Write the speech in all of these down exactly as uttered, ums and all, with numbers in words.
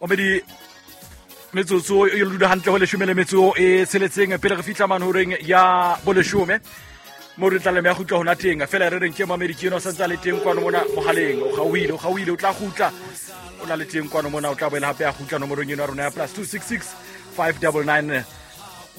Omedi metsotso e lula hantle ho leshome le metso e tsheletseng pele re fihla mane horeng ya boleshome mo re tla le ya kgutla hona teng fela re reng ke mamedi ke eno santse le teng kwano mona mohaleng o gauhile o gauhile o tla kgutla o na le teng kwano mona o tla boela hape ya kgutla nomorong eno ya rona ya plus two six six five double nine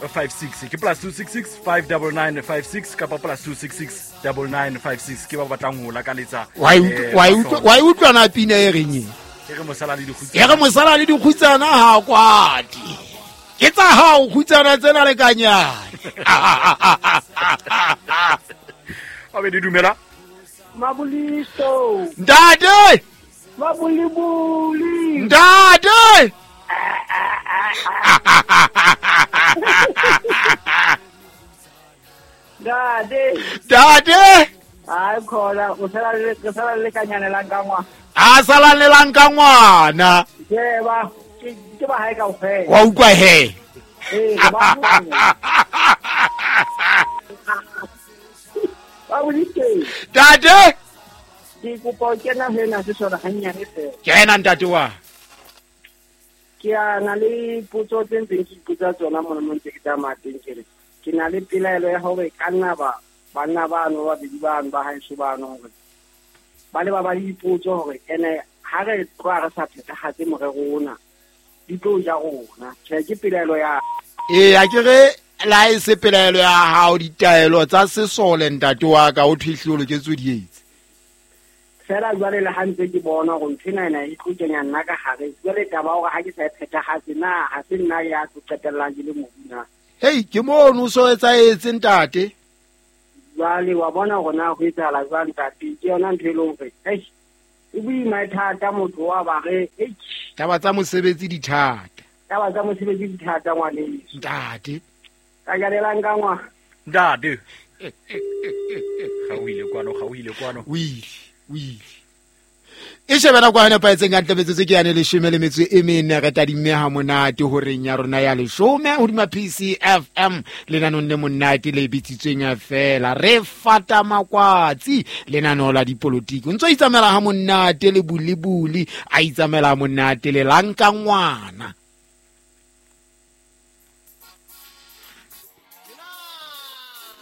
five six ke plus two six six five double nine five six kapa plus two six six double nine five six ke ba batlang ho lakaletsa wa utlwa wa utlwa na pina e reng e re mosala le dikgutsana e re mosala le dikgutsana ha kwati ke tsa hao kgutsana tsena le kanyane Abedi dumela Mabuliso Ntate Mabulibuli Ntate Ntate Ntate Ai khona o sala le ke sala le kanyane la nka ngwana a sala le la nka ngwana ke ba ke ba hae kaofela wa utlwa he eh ba ba bolike Ntate ke kopa o kena hena se sona hanyane fela kena ntate wa ke a na le potso tse ntseng ke ipotsa tsona mona mo ntse ke tsamaya teng ke re ke na le pelaelo ya hore ka nna ba banna bano ba babedi bano ba haeso bano hore ba le ba ba le dipotso hore ene ha re tloha re sa phethahatse morero ona di tlo ja rona tjhe ke pelaelo ya ee a ke re la e se pelaelo ya hao ditaelo tsa sesole ntate wa ka o thwe o loketse di etse fela jwale le ha ntse ke bona hore ntho ena ena e tlo kenya nna ka hare jwale taba hore ha ke sa e phethahatse na ha se nna ya tlo qetellang ke le mobu na hei ke mono o so etsaetse ntate jwale wa bona hore na ho etsahala jwang ntate ke yona ntho e leng hore eish e boima e thata motho wa ba re eish taba tsa mosebetsi di thata taba tsa mosebetsi di thata ngwaneso ntate ka jalelang ka ngwana ntate ga o ile kwano ga o ile kwano o ile o ile e shebela kwa nepahetseng ka ntle metsotso ke yane leshome le metso e mene re tadimme ha monate horeng ya rona ya leshome hodima P C F M lenanong le monate le bitsitsweng fela re fata makwatsi lenaneo la dipolotiki o ntso itsamela ha monate le bulibuli a itsamela ha monate le lanka ngwana